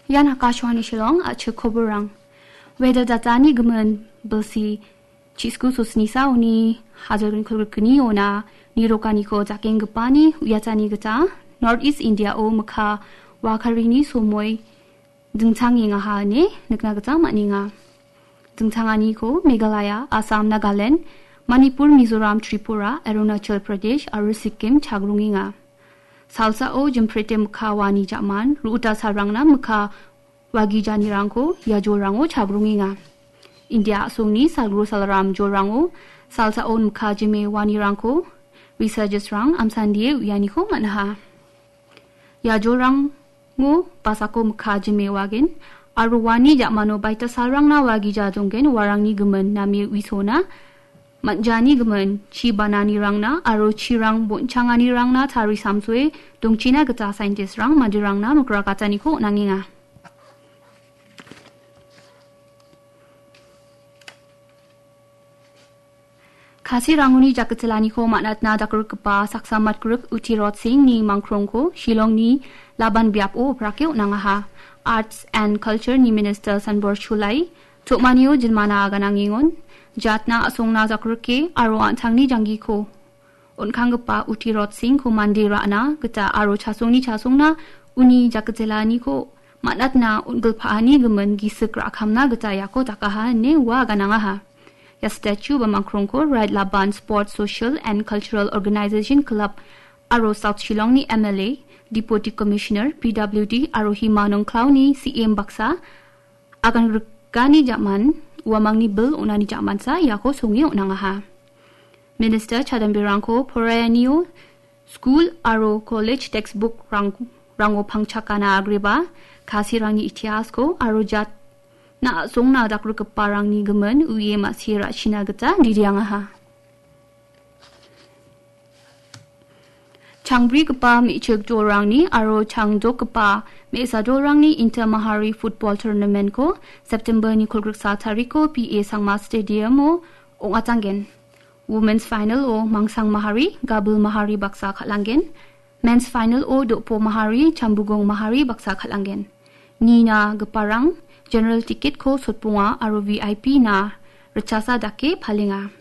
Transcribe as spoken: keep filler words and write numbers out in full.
Ian Akashvani Shillong, a·chik koborrang. Weather datani gimin bilsi chisku sosnisa uni hajalgni kolgrikgni ona nirokaniko jakenggipani uiatani gita North East India-o mikka wakarini somoi dingchangengaha ine nikna gita man·enga. Dingchanganiko Meghalaya, Assam, Nagaland, Manipur, Mizoram, Tripura, Arunachal Pradesh aro Sikkim chagrongenga. Salsao jimprete mikka wani ja·man, ru·uta salrangna mikka wagijanirangko ia jolrango chagrongenga. India a·songni salgro salram jolrango salsao mikka jime wanirangko researchers-rang amsandie uianiko man·aha. Ia jolrango basako mikka jime wagen aro wani ja·mano baita salrangna wagija donggen warangni gimin name uisona man·jani gimin chi bananirangna aro chirang bon·changanirangna tarisamsoe dongchina gita scientist-rang manderangna mikrakataniko on·angenga. Kasirangoni jakkichilaniko man·atna dakrikgipa saksa matgrik Uti Rotsingni mangkrongko Shillongni Laban biapo brake on·angaha. Arts and Culture-ni Minister Sanbor Chulai, to·manio jinmana aganangengon, jatna a·songna jakrike aro an·tangni janggiko on·kanggipa Uti Rotsingko mande ra·na gita aro chasongni chasongna uni jakkichilaniko man·atna on·gilpaani gimin gisik ra·kamna gita iako dakaha ine ua aganangaha. Ia statue ba mangkrongko Red Laban Sports Social and Cultural Organization Club aro South Shillongni M L A, Deputy Commissioner, P W D aro Hima Nongklaoni C M baksa agangrikani ja·man, uamangni bil on·ani ja·mansa iako songe on·angaha. Minister chadambirangko porayanio skul aro college textbook rang-, rango pangchakana agreba, Kasirangni itiasko aro jatna a·songna dakrikgiparangni gimin uie ma·sie ra·china gita diriangaha. Changbrigipa me·chik dolrangni aro changdokgipa me·sa dolrangni Inter Mahari Football Tournament-ko September-ni kolgriksa tariko P A Sangma Stadium-o ong·atanggen. Women's Final-o Mangsang Mahari, Gabil Mahari baksa kal·anggen. Men's Final-o Dopo Mahari, Chambugong Mahari baksa kal·anggen. Nina giparang general ticket-ko sotbonga aro V I P-na ritchasa dake palenga.